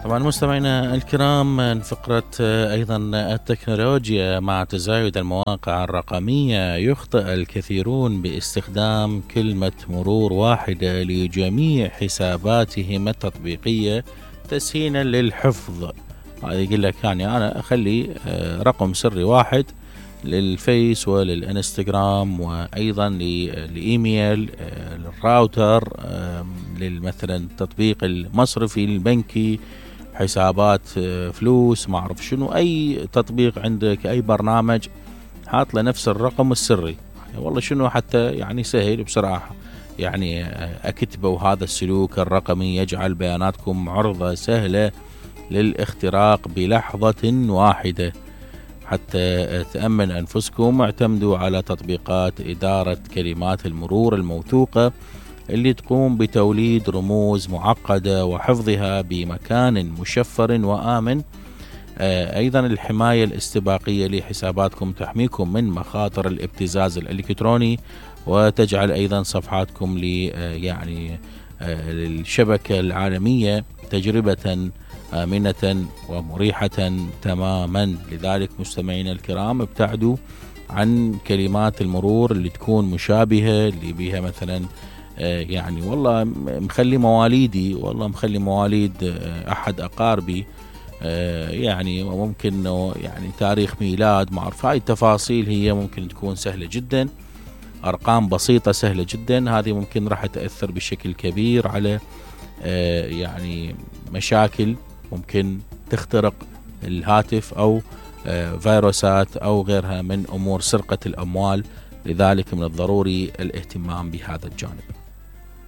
طبعا مستمعينا الكرام، من فقرة أيضا التكنولوجيا. مع تزايد المواقع الرقمية يخطئ الكثيرون باستخدام كلمة مرور واحدة لجميع حساباتهم التطبيقية تسهيلا للحفظ. يقول لك يعني أنا أخلي رقم سري واحد للفيس وللإنستغرام وأيضا للإيميل، للراوتر، مثلا التطبيق المصرفي البنكي، حسابات فلوس، ما أعرف شنو، أي تطبيق عندك، أي برنامج حاط له نفس الرقم السري. والله شنو حتى يعني سهل بصراحة، يعني أكتبوا هذا السلوك الرقمي يجعل بياناتكم عرضة سهلة للاختراق بلحظة واحدة. حتى تأمن أنفسكم اعتمدوا على تطبيقات إدارة كلمات المرور الموثوقة اللي تقوم بتوليد رموز معقدة وحفظها بمكان مشفر وآمن. أيضا الحماية الاستباقية لحساباتكم تحميكم من مخاطر الابتزاز الإلكتروني، وتجعل أيضا صفحاتكم يعني للشبكة العالمية تجربة آمنة ومريحة تماما. لذلك مستمعينا الكرام، ابتعدوا عن كلمات المرور اللي تكون مشابهة، اللي بيها مثلا يعني والله مخلي مواليدي، والله مخلي مواليد أحد أقاربي، يعني ممكن يعني تاريخ ميلاد، ما أعرف. هاي التفاصيل هي ممكن تكون سهلة جدا، أرقام بسيطة سهلة جدا، هذه ممكن راح تأثر بشكل كبير على يعني مشاكل ممكن تخترق الهاتف أو فيروسات أو غيرها من أمور سرقة الأموال. لذلك من الضروري الاهتمام بهذا الجانب.